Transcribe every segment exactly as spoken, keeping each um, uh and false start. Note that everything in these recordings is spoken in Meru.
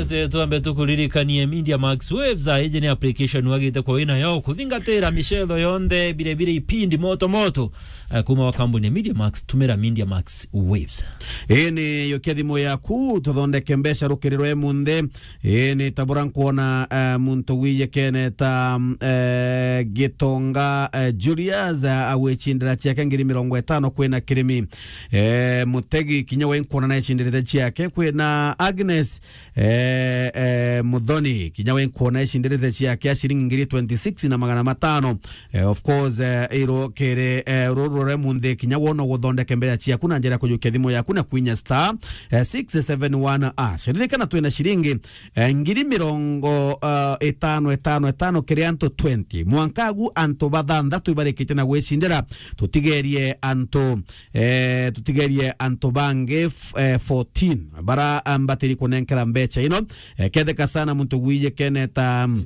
Se twambe tukuririkanie Media Max Waves, a, iji ni application wagite kwa wina yo kuthingatira micetho yonthe, bire bire ipindi moto moto, eh, kuma wa kambuni ya Media Max, tumira Media Max Waves. Ii ni yukia thimu yaku, tuthondeke mbeca rukiri rwa emunthe. Ii ni tabura nkwona, eh, muntu wiyekene ta, mm, eh, Gitonga, eh, Julius, eh, agwicindira ciake ngiri mirongo itano kwina kirimi. Eh, Mutegi kinya we nkwona naicindiritie ciake kwina Agnes eh, eh, Muthoni, kinya we nkwona icindiritie ciake a ciringi ngiri twenty-six na magana matano. Eh, of course, eh, iro kiri, eh, ruru rwa munthi, kinya wona guthondeke mbeca ciaku na njira ya kujukia thimu yaku na kwinya star, eh, six seven one hash. Ririkana twina ciringi, eh, ngiri mirongo, eh, itano, itano, itano kiri antu twenty. Mwanka agu antu bathanthatu ibarikitie na gwicindira, tutigerie antu eh, tutigerie antu bangi f-, eh, fourteen bara, ah, mbatiri kunenkera mbeca ino. Eh, ketheka sana muntu gwije keneta, mm,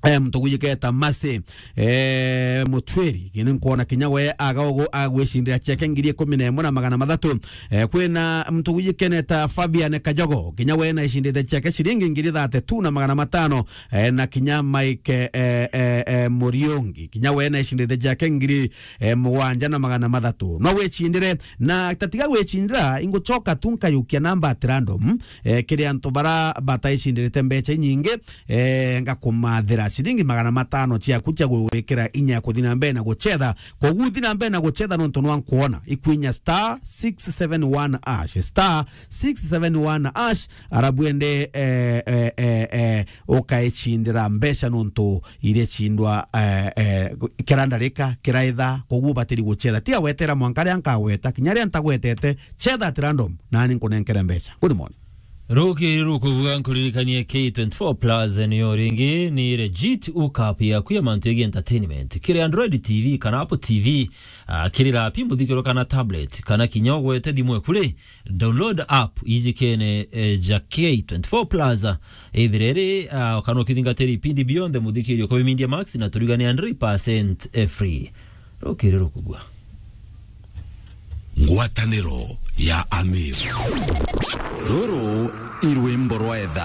eh, muntu gwije keta Masi, eh, Mutwiri, kini nkwona kinya we aga ugu agwicindira ciake ngiri ikumi na imwe na magana mathatu. Eh, kwina muntu gwije keneta Fabian Kajogo, kinya we naicindite ciake ciringi ngiri thirty-two na magana matano. Eh, na kinya Mike, eh, eh, eh, Muriungi, kinya we naicindite ciake ngiri eh, mugwanja na magana mathatu. No wicindire, na tatiga gwicindira, ingucoka tu nkayukia namba at random, eh, kiri antu bara bataicindirite mbeca inyingi, eh, ngakumathira ciringi magana matano ciaku cia gwikira inya ya kuthi na mbere na gucetha. Koguo thi na mbere na gucetha nontu nwa nkwona ikwinya star six seven one hash, star six seven one hash, arabu ende, eh, eh, eh, eh, ukaicindira mbeca nontu iricindwa, eh, eh, kira ndarika, kira ithaa, koguo batiri gucetha. Tiga gwetera mwanka ria nkagweta, kinya ria ntagwetete, cetha at random, nani nkunenkere mbeca. Good morning. Rukiri rukubua nkuririkanie K twenty-four Plus niyo ringi ni legit hookup yaku ya mantu yegi entertainment. Kiri Android T V kana Apple T V, ah, kiri lapi muthikiro kana tablet, kana kinya ugwete thimu eku ri, download app ijikene, eh, ja K twenty-four Plus, ah, ithire ri, ah, kana ukithingatira ipindi bionthe muthikirio kwa Media Max na turigane hundred percent free. Rukiri rukubua. Ngwataniro ya Amir. Ruru i rwimbo rwa etha.